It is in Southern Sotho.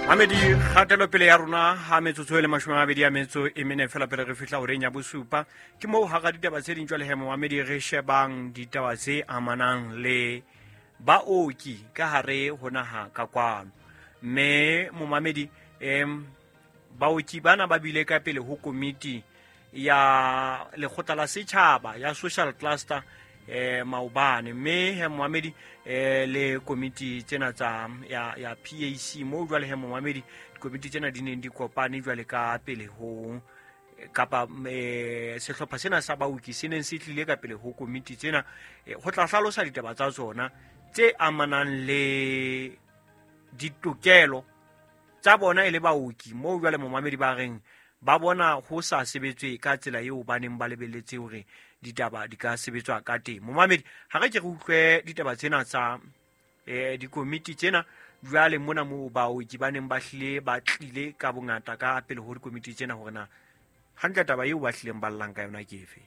Mamedi, kgatelopele ya rona ha metsotso e le 24 fela pele re fihla horeng ya bosupa. Ke moo hara ditaba tse ding jwale he, momamedi, re shebang ditaba tse amanang le baoki ka hare ho naha ka kwano. Mme momamedi, baoki bana ba bile ka pele ho komiti ya lekgotla la setjhaba ya social cluster maobane. Mme he momamedi, le komiti tsena tsa ya PAC, moo jwale he momamedi dikomiti tsena di neng di kopane jwale ka pele ho kapa sehlopha sena sa baoki se neng se tlile ka pele ho komiti tsena ho tla hlalosa ditaba tsa tsona tse amanang le ditokelo tsa bona e le baoki. Moo jwale momamedi ba reng ba bona ho sa sebetswe ka tsela eo ba neng ba lebelletse hore ditaba di ka sebetswa ka teng. Momamedi, ha re ke re utlwe ditaba tsena tsa dikomiti tsena jwale mona moo baoki ba neng ba hlile ba tlile ka bongata ka pele ho dikomiti tsena, hore na hantle taba eo ba hlileng ba llang ka yona ke efe.